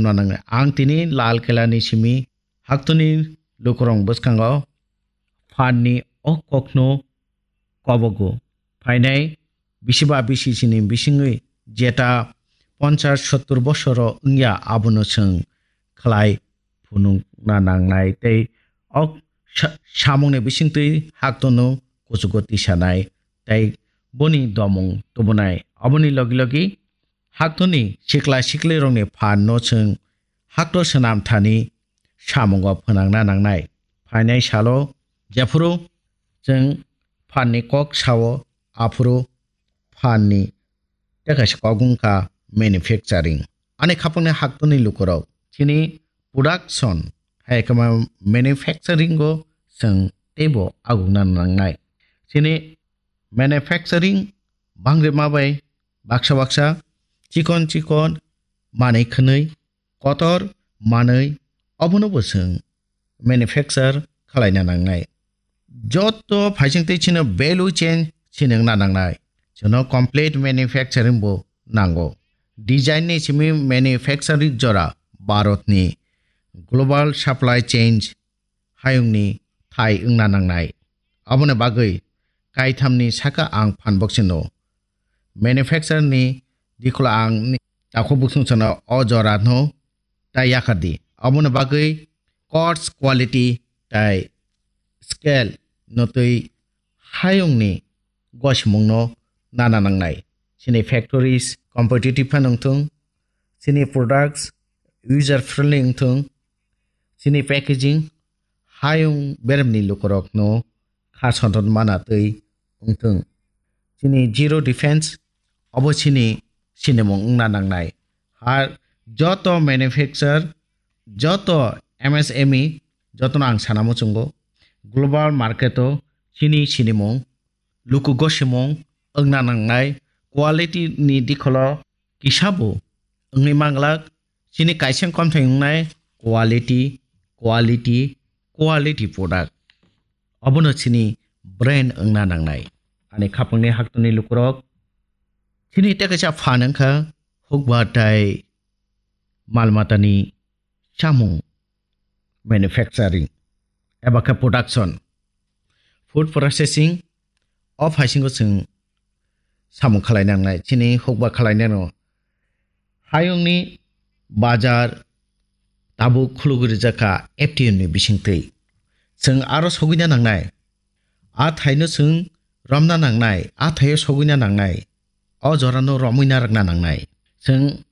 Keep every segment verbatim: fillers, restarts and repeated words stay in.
Ang tini Lal Kela ni simi haktoni lukurok bwskango phan ni o kokno kobogo. Phainai bisiba bisi sini bisingwi jeta ponchas sottur bosoro wngya abono chwng khlai phunukna nangnai tei o sa-, samungni bisingtwi haktono kuchugo tisanai tei boni domung tubunai. Aboni logi logi haktoni sikla siklirokni phanno chwng hakto swnam thani samungo phwnangna nangnai. Phainai salo jephuru chwng phanni kok sao, aphuru phanni tei kaisa kok wngkha manufacturing. Ani khapangni haktoni lukurok chini production hai khe manufacturing o chwng teibo agukna nangnai. Chini manufacturing bangre ma bai baksa baksa chikon chikon manwi khwnwi kotor manwi obono bo chwng manufacture khwlaina nangnai. Joto phaising tei chino value chain sinwngna nangnai. Chwngno complete manufacturing bo nango. Design ni simi manufacturing jora Bharat ni global supply chain hayungni thai wngna nangnai. Aboni bagwi kaithamni saka ang phan boksino manufacture ni dikhulo ang ni takhuk bukhung chwngno o jora no tai yakar di. Aboni bagwi cost, quality tai scale no twi hayungni gosimungno nana nangnai. Chini factories competitive phano wngthung, chini products user friendly wngthung, chini packaging hayung beremni lukurokno kha sonton mana twi wngthung. Chini zero defense obo chini sinimung wngna nangnai. Har joto manufacture, joto M S M E, jotono ang sana muchungo global market o chini sinimung luku gosimung wngna nangnai, quality ni dikholo kisa bo wngwi manglak. Chini kaisa komthai wngnai quality, quality, quality product. Obono chini brand wngna nangnai. Ani khapangni haktoni lukurok chini tei kaisa phan wngkha hukba tai mal matani chamung manufacturing eba khe production, food processing o phaisingo chwng samung khalai nangnai, chini hukba khalai nano. Hayungni bazar tabuk khulugwi rijak kha F T M ni bisingtwi. Chwng aro sogwina nangnai. A thaino chwng romna nangnai, a thaio sogwina nangnai. O jorano romwina rwkna nangnai. Chwng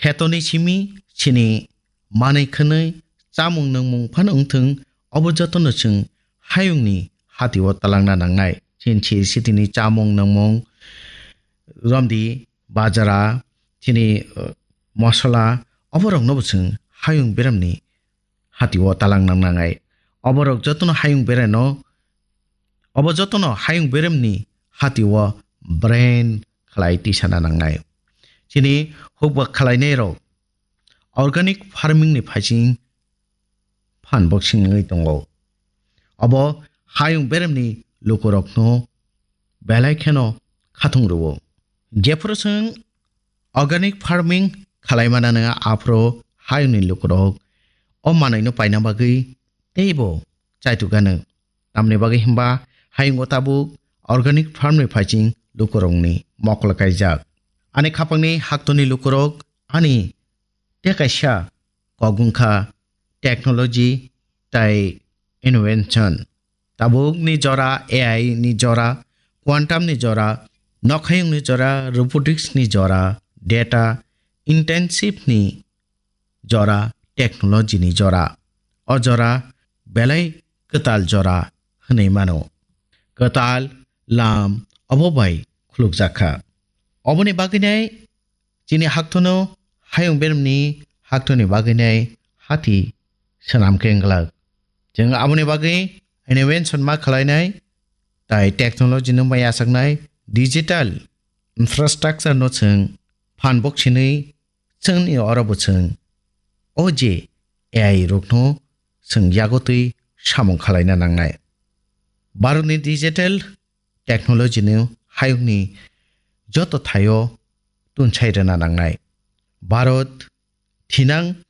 khetoni simi chini manwi khwnwi chamung nungmung phano wngthung, obo jotono chwng hayungni hatio talangna nangnai. Chini siri sitini chamung nungmung romdi, bajra, chini, uh, mosola, oborokno bo chwng hayung beremni hatio talang nang nangnai. Oborok jotono hayung bereno, obo jotono hayung beremni hatio brand khlai tisana nangnai. Chini hukba khlainairok organic farming ni phaising phan boksing wngwi tongo. Obo hayung beremni lukurokno belai kheno khatung rwo. Jephuru chwng organic farming khalai manano, aphuru hayungni lukurok o manwino paina bagwi teibo chaitukgano. Tamni bagwi hwnba hayungo tabuk organic farm ni phaising lukurokni mokol kaijak. Ani khapangni haktoni lukurok ani tei kaisa kok wngkha technology tai invention. Tabukni jora A I ni jora, quantum ni jora, nokhayung ni jora, robotics ni jora, data intensive ni jora, technology ni jora. O jora belai kwtal jora hwnwi mano. Kwtal lam obo bai khulukjak kha. Oboni bagwinai chini haktono hayung beremni haktoni bagwinai hati swnam khe wngglak. Chwng aboni bagwi invention ma khlainai tai technology no mai achaknai digital infrastructure no chwng phan boksinwi chwngni oro bo chwng o je A I rokno chwng yagotwi samung khalaina nangnai. Bharatni digital technology ni hayungni joto thaio tunsai rwna nangnai. Bharat thinang